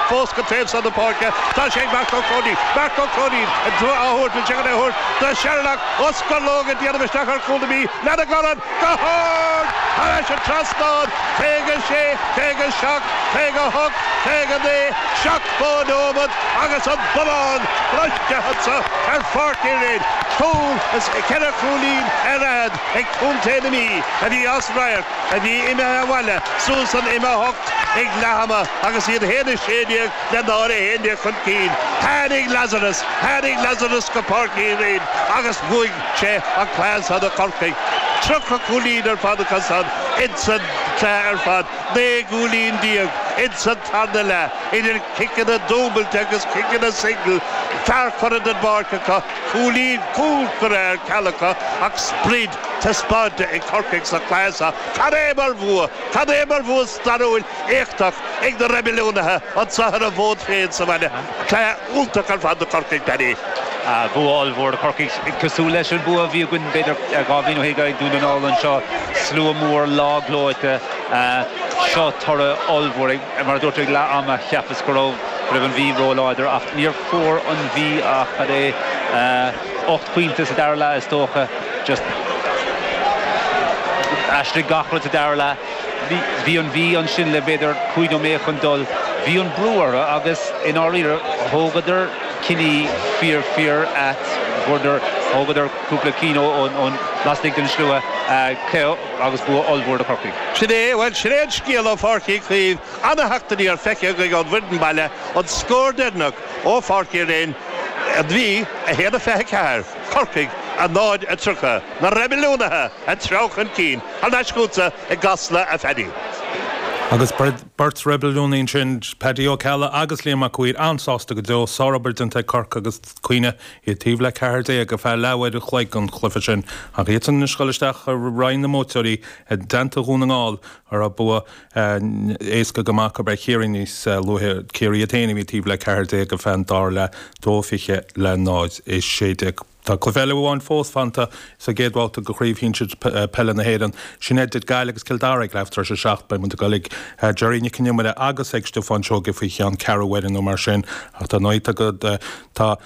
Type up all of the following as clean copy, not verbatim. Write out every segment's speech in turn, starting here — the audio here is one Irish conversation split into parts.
fós go taobh san na páirce. Tá sé ag Marc Ó Cróinín. Marc Ó Cróinín á thabhairt, bhfuil sé chun é a thabhairt do Sherlock Ó Scorlóg ag déanamh isteach ar chúl na Mí lena dhorn go hard thar ais an trasnán. 56, 57, 58, 59, 70 nóiméad agus an bonnán briste anso ar Pháirc Uí Rinn. Cúl is ceithre chúilín ar fhichead ag contae na Mí a bhí as radharc, a bhí imithe abhaile suas an M8 ag leath ama agus iad 1-16 le 0-11 chun cinn. Tháinig Lazarus, tháinig Lazarus go Páirc Uí Rinn agus bhuaigh sé an cluiche san do Chorcaigh. 30 cúilín ar fad acu san insan cluiche ar fad, 19 gcúilín insan tarna leath, idir ciceanna dúbailte agus ciceanna single, fear curtha den bpáirc acu, cúilín, cúl curtha ar ceal acu ach sprid taispeánta ag Corcaigh sa chluiche seo. Cad é mar bhua! Cad é mar bhua stairiúil éachtach ag na reibiliúnaithe anseo ar an bhfód féin sa bhaile. Cluiche iontach ar fad do Chorcaigh, Paddy. Bua ollmhór do Chorcaigh, cosúil leis an bua a bhí againn b'fhéidir 2 bhliain ó shin ag Dún na nGall anseo. Slua mór, lá gleoite. Seo toradh ollmhór. Mar a dúirt tú ag leath ama, cheapas go raibh go raibh an Mhí róláidir ach níor fuair an Mhí ach cad é, 8 pointe sa dara leath is dócha. Just aistrigh gach rud sa dara leath. Bhí an Mhí ansin le b'fhéidir 5 nóiméad chun dul. Bhí an brú orthu agus i ndáiríre thógadar cinní fíor fíor ait. Fuaireadar, thógadar cúpla cinn ón lasmuigh den slua agus bua ollmhór do Chorcaigh. Sin é, bhuel, sin é an scéal ó Pháirc Uí Chaoimh. Ana-theacht aniar feicthe againn ón bhfoireann baile, an scór deireanach ó Pháirc Uí Rinn, an Mhí, 1-24, Corcaigh, 0-30. Na reibiliúnaithe ag treabhadh chun cinn. Thar n-ais chugatsa i gCasla, a Phaddy. Agus beirt reibiliúnaí ansin, Paddy Ó Ceallaigh agus Liam Mac Uidhir, an-sásta go deo. Sárobair déanta ag Corcaigh agus cuimhnigh, iad taobh le 14 ar feadh leathuair an chloig den chluiche sin. Ach iadsan anois ag dul isteach i Roinn na mBuaiteoirí i dteannta Dhún na nGall, a raibh bua éasca go maith acu ar Chiarraí níos luaithe. Ciarraí iad féin a bhí taobh le 14 ar feadh an dara leath, 2-20 le 0-16. Tá cluiche eile amháin fós fanta sa gcéad bhabhta de Chraobh Shinsir Peile na hÉireann. Sin idir Gaillimh agus Cill Dara ag leathuair tar éis a 7. Beidh muid ag dul ag Gerry Nic Con Iomaire agus ag Stiofán Seoige faoi cheann ceathrú uaire nó mar sin. Ach dar ndóigh tá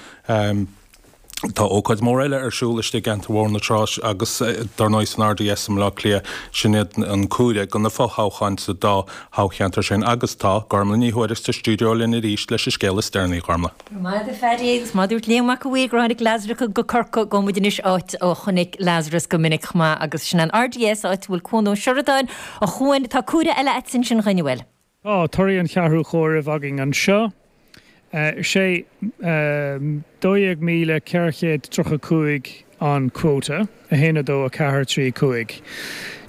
tá ócáid mhór eile ar siúl istigh i gceantar Bhóthar na Trá agus dar ndóigh san RDS i mBaile Átha Cliath. Sin iad an comhaireamh do na fothoghcháin sa dá thoghcheantar sin agus tá Gormlaith Ní Thuairisg sa stiúideo linn arís leis an scéal is deireanaí. Gormlaith. Go raibh maith agat a Phaddy agus mar a dúirt Liam Mac a' Mhaoir gur tháinig Lazarus go Corcaigh, gabhfaidh muid anois áit a chonaic Lazarus go minic chomh maith agus sin an RDS, áit a bhfuil Cuan Ó Seireadáin. A Chuain, tá comhaireamh eile agat ansin a Chuain, an bhfuil? Tá torthaí an cheathrú chomhairimh againn anseo. Is é 12,435 an quota. 1, 2, 4, 3, 5.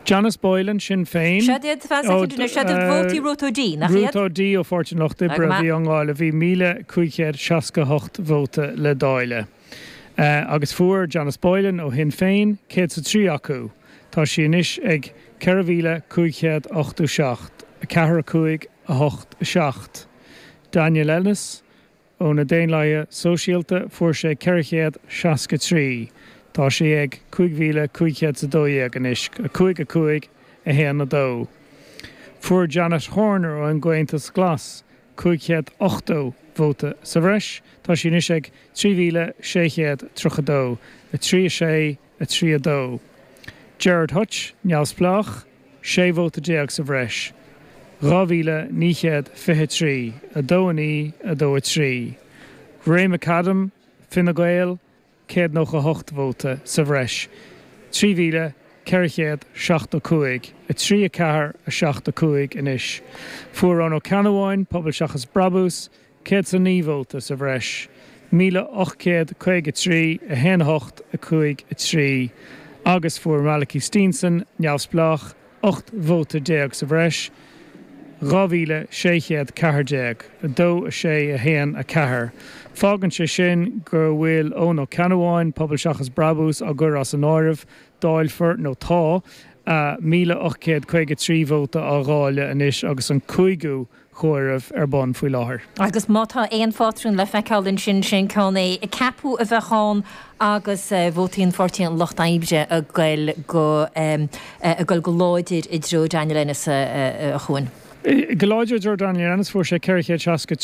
Janice Boylan, Sinn Féin. Siad iad, fan soicind anois, siad iad vótaí Ruth O'Dea, nach iad? Ruth O'Dea ó Pháirtí an Lucht Oibre a bhí á ndáileadh. Bhí 1,568 vóta le dáileadh. Agus fuair Janice Boylan ó Shinn Féin 103 acu. Tá sí anois ag 4,587, 4, 5, 8, 7. Daniel Ennis. Ó na Daonlathaithe Sóisialta fuair sé 463. Tá sé ag 5,512 anois, 5, 5, 1, 2. Fuair Janet Horner ón gComhaontas Glas 580 vóta sa bhreis. Tá sí anois ag 3,632, 3, 6, 3, 2. Gerard Hutch, Neamhspleách, 16 vóta sa bhreis, 2,923, 2, 9, 2, 3. Ray McAdam, Fine Gael, 198 vóta sa bhreis, 3,475, 3, 4, 7, 5 anois. Fuair Eoin Ó Ceannabháin, Pobal Seachas Brabús, 109 vóta sa bhreis, 1,853, 1 8, 5 3, agus fuair Malachy Steenson, Neamhspleách, 18 vóta sa bhreis, 2,614, 2 6, 1 4. Fágann sé sin go bhfuil Eoin Ó Ceannabháin, Pobal Seachas Brabús, á gcur as an áireamh, dáilfear, nó tá, 1,853 vóta á dháileadh anois agus an cúigiú chomhaireamh ar bun faoi láthair. Agus má tá aon phátrún le feiceáil ansin, sin ceann é. Ceapadh a bheadh ann agus vótaí an Pháirtí an Lucht Oibre ag goil go ag goil go láidir i dtreo Daniel Ennis, a Chuain. Go láidir i dtreo Daniel Ennis, fuair sé 463.